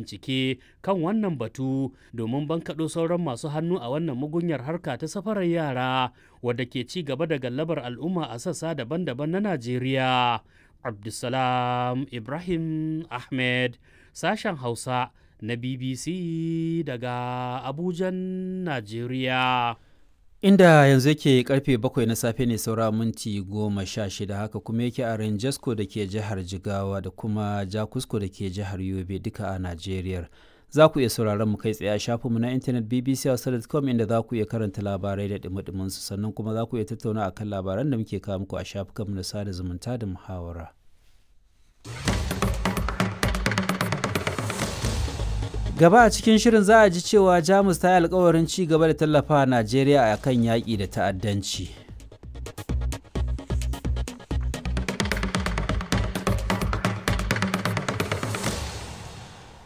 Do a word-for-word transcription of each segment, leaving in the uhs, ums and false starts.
Bincike kan wannan batu domin bankaɗo sauran masu hannu a wannan mugunyar harka ta safarar yara wadda ke ci gaba da gallabar al'umma a sassa daban-daban na Najeriya. Abdulsalam Ibrahim Ahmed, sashen Hausa na B B C daga Abujan, Najeriya. Inda yanzu yake karfe bakwai na safe ne saura minti goma sha shida, haka kuma yake a Rangesko da ke jihar Jigawa da kuma Jakusko da ke jihar Yobe, duka a Najeriya. Za ku iya sauraron mu kai tsaye a shafinmu na intanet B B C hausa dot com, inda za ku iya karanta labarai da dumi su, sannan kuma za ku iya tattauna akan labaran da muke kawo muku a shafukanmu na sada zumunta da muhawara. Gaba a cikin shirin za a ji cewa Jamus ta yi alkawarin ci gaba da tallafa Najeriya a kan yaƙi da ta'addanci.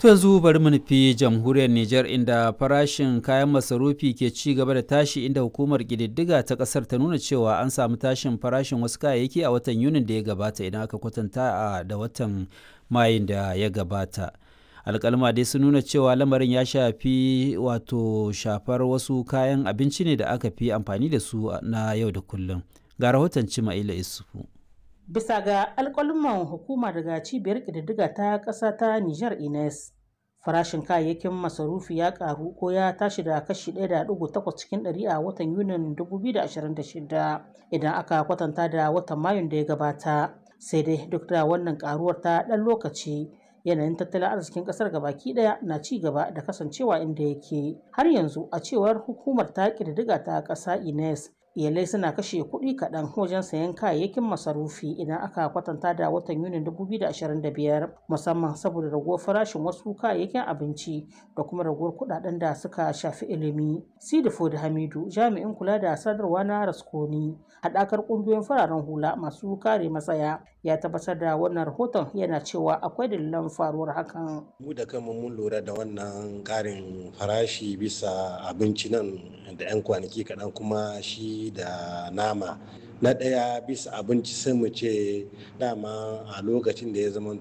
To yanzu bari mu nufi jamhuriyar Nijar, inda farashin kayan masarufi ke ci gaba da tashi, inda hukumar ƙididdiga ta ƙasar ta nuna cewa an samu tashin farashin wasu kayayyaki a watan Yunin da ya gabata idan aka kwatanta da watan Mayun da ya gabata. Alkalma dai sun nuna cewa lamarin ya shafi wato shafar wasu kayan abinci ne da aka fi amfani da su na yau da kullum. Ga rahoton Cima'ila Isufu. Bisa ga alƙaluman hukuma daga cibiyar ƙididdiga ta ƙasa ta Nijar Ines, farashin kayayyakin masarufi ya ƙaru ko ya tashi da kashi ɗaya da ɗigo takwas cikin ɗari a watan Yunin dubu biyu da ashirin da shida idan aka kwatanta da watan Mayun da ya gabata. Sai dai duk da wannan ƙaruwar ta ɗan lokaci, yanayin tattalin arzikin kasar gabaki daya na ci gaba da kasancewa inda yake har yanzu. A cewar hukumar ta ƙididdiga ta ƙasa Ines, iyalai suna kashe kuɗi kaɗan wajen sayan kayayyakin masarufi idan aka kwatanta da watan Yunin dubu biyu da ashirin da biyar, musamman saboda raguwar farashin wasu kayayyakin abinci da kuma raguwar kuɗaɗen da suka shafi ilimi. Sidifo da Hamidu, jami'in kula da sadarwa na Raskoni, haɗakar ƙungiyoyin fararen hula masu kare matsaya, ya tabbatar da wannan rahoton, yana cewa akwai dalilan faruwar hakan. Mu da kanmu mun lura da wannan ƙarin farashi bisa abinci nan da 'yan kwanaki kaɗan, kuma shi da nama. Na ɗaya, bisa abinci, sai mu ce dama a lokacin da ya zama